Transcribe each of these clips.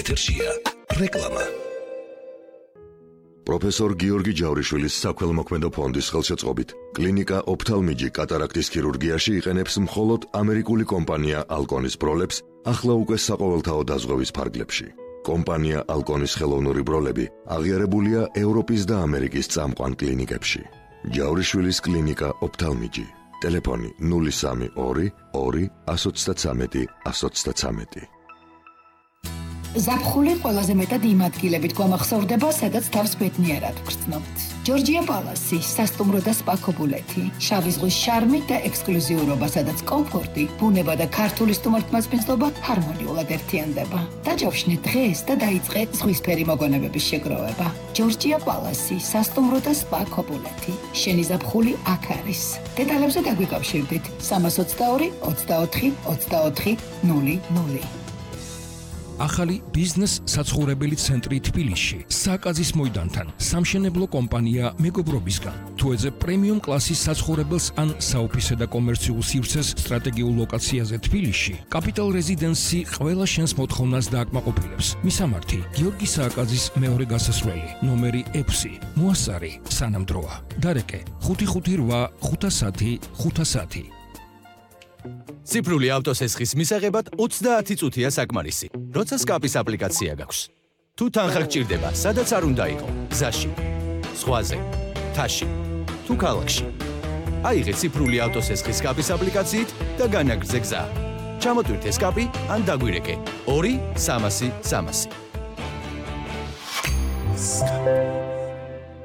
ეთერშია რეკლამა. პროფესორ გიორგი ჯავრიშვილის საქველმოქმედო ფონდის ხელშეწყობით კლინიკა ოფთალმიჯი კატარაქტის ქირურგიაში იყენებს მხოლოდ ამერიკული კომპანია ალკონის ბროლებს ახლა უკვე საყოველთაო დაზღვევის ფარგლებში. კომპანია ალკონის ხელოვნური ბროლები აღიარებულია ევროპის და ამერიკის წამყვან კლინიკებში. ჯავრიშვილის კლინიკა ოფთალმიჯი. ტელეფონი 032 2 133 133. ზაფხული ყველაზე მეტად იმ ადგილებით გვამახსოვრდება, სადაც თავს ბედნიერად ვგრძნობთ. ჯორჯია პალასი, სასტუმრო და სპა ქობულეთი, შავი ზღვის შარმი და ექსკლუზიურობა, სადაც კომფორტი, ბუნება და ქართული სტუმართმასპინძლობა ჰარმონიულად ერთიანდება. დაჯავშნე დღეს და დაიწყე ზღვისფერი მოგონებების შეგროვება. ჯორჯია პალასი, სასტუმრო და სპა ქობულეთი. შენი ზაფხული აქ არის. დეტალებზე დაგვიკავშირდით 322 24 24 00. ახალი ბიზნეს საცხოვრებელი ცენტრი თბილისში, საკაზის მოედანთან, სამშენებლო კომპანია მეგობრობისგან. თუ ეძებ პრემიუმ კლასის საცხოვრებელს ან საოფისე და კომერციულ სივრცეს სტრატეგიულ ლოკაციაზე თბილისში, კაპიტალ რეზიდენსი ყველა შენს მოთხოვნას დააკმაყოფილებს. მისამართი: გიორგი სააკაძის მეორე გასასვლელი, ნომერი 6, მოასარი, სანამდროა. დარეკე: 558 510 510. ციფრული ავტოსესხის მისაღებად 30 წუთია საკმარისი. როცა სკაპის აპლიკაცია გაქვს. თუ თანხა გჭირდება, სადაც არ უნდა იყო, გზაში, ზღვაზე, თაში, თუ ქალაქში. აიღე ციფრული ავტოსესხის სკაპის აპლიკაციით და განაგრძე გზა. ჩამოტვირთე სკაპი ან დაგვირეკე 2 300 300.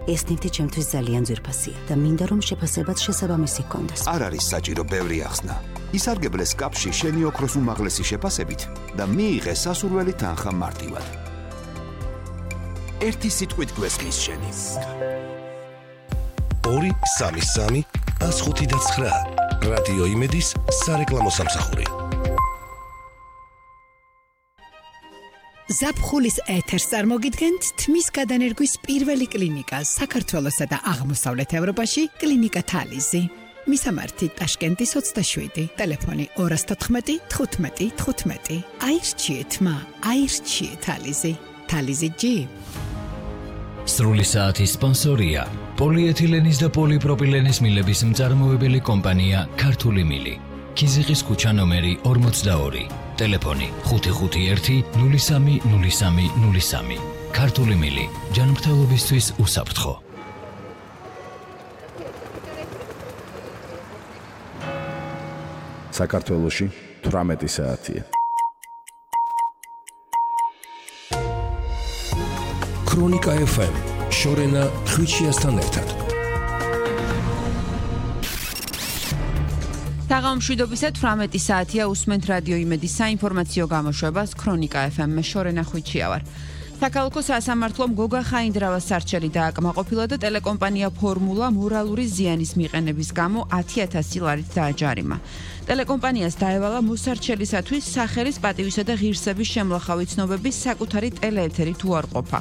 ეს ნივთი ჩემთვის ძალიან ძვირფასია და მინდა რომ შეფასებაც შესაბამისი ჰქონდეს. არ არის საჭირო ბევრი ახსნა. ისარგებლე სკაპში შენი ოქროს უმაღლესი შეფასებით და მიიღე სასურველი თანხა მარტივად. ერთი სიტყვით გვესმის შენი. 2 3 105 რადიო იმედის სარეკლამო სამსახური. ზაფხულის ეთერს წარმოგიდგენთ თმის გადანერგვის პირველი კლინიკა საქართველოსა და აღმოსავლეთ ევროპაში, კლინიკა თალიზი. მისამართი: ტაშკენტის 27, ტელეფონი 214 15 15. აირჩიეთ მა, აირჩიეთ თალიზი. თალიზი ჯი. სრული საათის სპონსორია პოლიეთილენის და პოლიპროპილენის მილების მწარმოებელი კომპანია ქართული მილი. ქიზიყის ქუჩა ნომერი 42, ტელეფონი 551 03 03 03. ქართული მილი, ჯანმრთელობისთვის უსაფრთხო. საქართველოში 18 საათია. ქრონიკა FM, შორენა ხვიჩიასთან ერთად. საღამომშვიდობისა 18 საათია, უსმენთ რადიო იმედის საინფორმაციო გამოშვებას ქრონიკა FM-მე, შორენა ხვიჩია ვარ. საქალაქო სასამართლომ გოგა ხაინდრავას სარჩელი დააკმაყოფილა და ტელეკომპანია ფორმულა მორალური ზიანის მიყენების გამო 10,000 ლარით დააჯარიმა. ტელეკომპანიას დაევალა მოსარჩელისათვის სახელის, პატივისა და ღირსების შემლახავი ცნობების საკუთარი ტელეეთერი თუ არ ყოფა.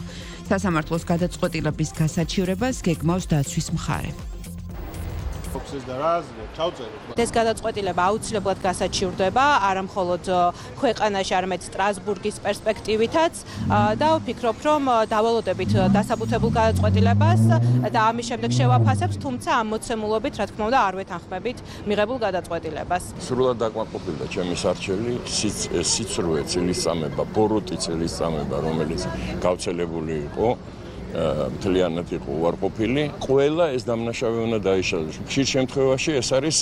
სასამართლოს გადაწყვეტილების გასაჩივრებას გეგმავს დაცვის მხარე. ეს გადაწყვეტილება აუცილებლად გასაჩივრდება არა მხოლოდ ქვეყანაში, არამედ სტრასბურგის პერსპექტივითაც და ვფიქრობ, რომ დავალოდებით დასაბუთებულ გადაწყვეტილებას და ამის შემდეგ შევაფასებთ, თუმცა ამ მოცემულობით, რა თქმა უნდა, არ ვეთანხმებით მიღებულ გადაწყვეტილებას. სრულად დაკმაყოფილდა ჩემი სარჩელი, სიცრუე წილისწამება, ბოროტი წილისწამება, რომელიც გავრცელებული იყო. მთლიანად იყო უარყოფილი. ყველა ეს დამნაშავე უნდა დაიშალოს. ხშირ შემთხვევაში ეს არის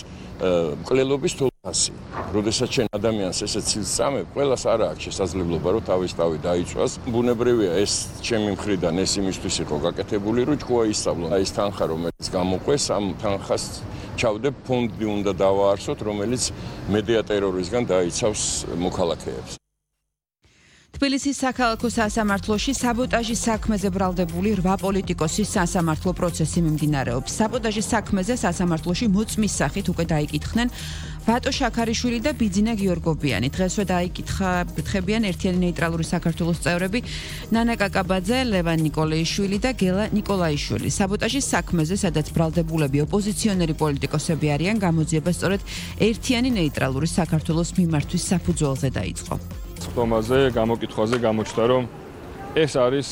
მკვლელობის თვალსაზრისი. როდესაც შენ ადამიანს ესეც წამებ, ყველას არ აქვს შესაძლებლობა, რომ თავის თავი დაიცვას. ბუნებრივია ეს ჩემი მხრიდან ეს იმისთვის იყო გაკეთებული, რომ თქვა ისწავლო. ეს თანხა, რომელიც გამოყვეს, ამ თანხას ჩავდებ ფონდი უნდა დავაარსოთ, რომელიც მედია ტერორისგან დაიცავს მოქალაქეებს. თბილისის საქალაქო სასამართლოში საბოტაჟის საქმეზე ბრალდებული 8 პოლიტიკოსის სასამართლო პროცესი მიმდინარეობს. საბოტაჟის საქმეზე სასამართლოში მოწმის სახით უკვე დაიკითხნენ ვატო შაქარიშვილი და ბიძინა გიორგობიანი. დღესვე დაიკითხებიან ერთიანი ნეიტრალური საქართველოს წევრები ნანა კაკაბაძე, ლევან ნიკოლაიშვილი და გელა ნიკოლაიშვილი. საბოტაჟის საქმეზე, სადაც ბრალდებულები ოპოზიციონერი პოლიტიკოსები არიან, გამოძიება სწორედ ერთიანი ნეიტრალური საქართველოს მიმართვის საფუძველზე დაიწყო. ხდომაზე, გამოკითხვაზე გამოჩნდა, რომ ეს არის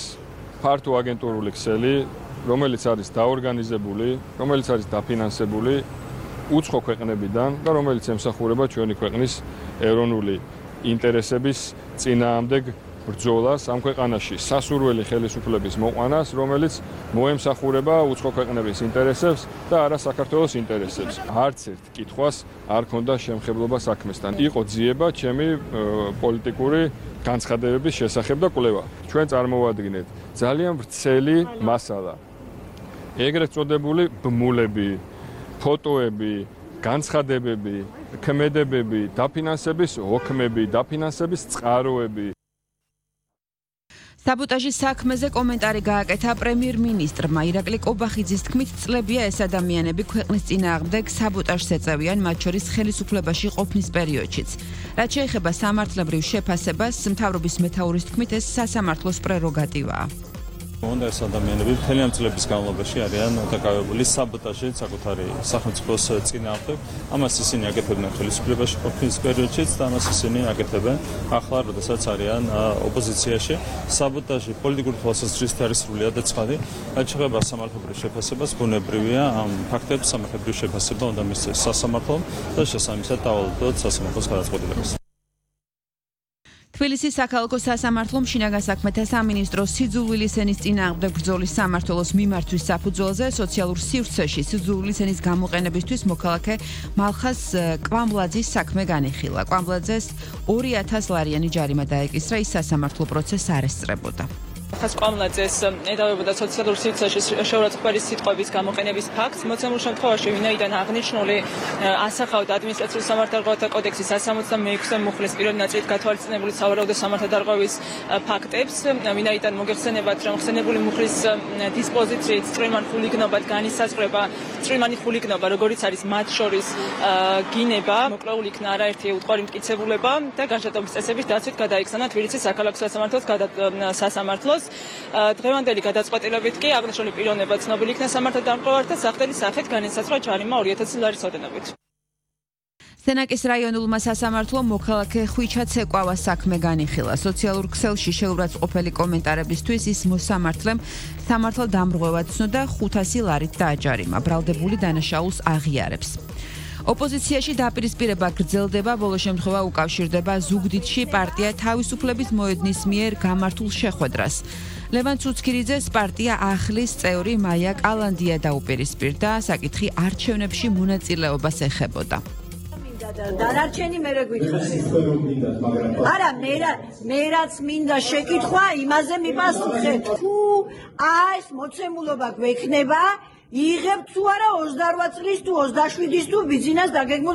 ფართო აგენტურული ქსელი, რომელიც არის დაორგანიზებული, რომელიც არის დაფინანსებული უცხო ქვეყნებიდან და რომელიც ემსახურება ჩვენი ქვეყნის ეროვნული ინტერესების წინააღმდეგ ბრძოლას ამ ქვეყანაში სასურველი ხელისუფლების მოყვანას, რომელიც მოემსახურება უცხო ქვეყნების ინტერესებს და არა საქართველოს ინტერესებს. არც ერთ კითხვას არ ქონდა შემხებლობა საქმესთან. იყო ძიება ჩემი პოლიტიკური განცხადებების შესახებ და კვლევა. ჩვენ წარმოვადგინეთ ძალიან ვრცელი მასალა. ეგრეთ წოდებული ბმულები, ფოტოები, განცხადებები, ქმედებები, დაფინანსების ოქმები, დაფინანსების წყაროები. საბოტაჟის საქმეზე კომენტარი გააკეთა პრემიერ-მინისტრმა ირაკლი კობახიძის თქმით, წლებია ეს ადამიანები ქვეყნის წინააღმდეგ საბოტაჟს ეწევიან, მათ შორის ხელისუფლებაში ყოფნის პერიოდშიც. რაც შეეხება სამართლებრივ შეფასებას, მთავრობის მეთაურის თქმით, ეს სასამართლოს პრეროგატივაა. Onda ეს ადამიანები მთელი ამ წლების განმავლობაში არიან დაკავებული საბოტაჟით საკუთარი სახელმწიფოს წინააღმდეგ. ამას ისინი აკეთებდნენ ხელისუფლებაში ყოფნის პერიოდშიც და ამას ისინი აკეთებენ ახლა, როდესაც არიან ოპოზიციაში. საბოტაჟი პოლიტიკური თვალსაზრისით არის სრულიად ცხადი. რაც შეეხება სამართლებრივ შეფასებას, ბუნებრივია ამ ფაქტებს სამართლებრივ შეფასება უნდა მისცეს სასამართლომ და შესაბამისად დავალოდოთ სასამართლოს გადაწყვეტილებას. თბილისის საქალაქო სასამართლომ შინაგან საქმეთა სამინისტროს სიძულვილის ენის წინააღმდეგ ბრძოლის სამმართველოს მიმართვის საფუძველზე სოციალურ სივრცეში სიძულვილის ენის გამოყენებისთვის მოქალაქე მალხას კვამბლაძის საქმე განიხილა. კვამბლაძეს 2000 ლარიანი ჯარიმა დაეკისრა, ის სასამართლო პროცესს არ ესწრებოდა. ხას კვამბლაძეს ედავებოდა სოციალურ სივრცეში შეურაცხყოფის სიტყვების გამოყენების ფაქტს. მოცემულ შემთხვევაში, ვინაიდან აღნიშნული ასახავდა ადმინისტრაციულ სამართალდარღვევათა კოდექსის 166 მუხლის პირველი ნაწილით გათვალისწინებული სავარაუდო სამართალდარღვევის ფაქტებს, ვინაიდან მოგეხსენებათ, რომ ხსენებული მუხლის დისპოზიციით წვრილმან ხულიგნობად განისაზღვრება წვრილმანი ხულიგნობა, როგორიც არის მათ შორის გინება, მოკვლეულ იქნა არაერთი უტყვარი მტკიცებულება და განშტოების წესების დაცვით გადაიხსნა თბილისის საქალაქო სასამართლოს დღევანდელი გადაწყვეტილებით კი აღნიშნული პიროვნება ცნობილი იქნა სამართალდამტკიცებელთა სახდელი სახით განისაზღვრა ჯარიმა 2000 ლარის ოდენობით. სენაკის რაიონულმა სასამართლომ მოქალაქე ხვიჩა ცეკვავას საქმე განიხილა. სოციალურ ქსელში შეურაცხყოფელი კომენტარებისთვის ის მოსამართლემ სამართალდამრღვევად ცნო 500 ლარით დააჯარიმა. ბრალდებული დანაშაულს აღიარებს. ოპოზიციაში დაპირისპირება გრძელდება, ბოლო შემთხვევა უკავშირდება ზუგდიდში პარტია თავისუფლების მოედნის მიერ გამართულ შეხვედრას. ლევან ცუცქირიძეს პარტია ახლის წევრი მაია კალანდია დაუპირისპირდა, საკითხი არჩევნებში მონაწილეობას ეხებოდა. დანარჩენი მერე გვითხრას. არა, მე რაც მინდა შეკითხვა, იმაზე მიპასუხეთ. თუ ეს მოცემულობა გვექნება, იღებთ თუ არა 28 წლის თუ 27-ის თუ ბიზნეს დაგეგმო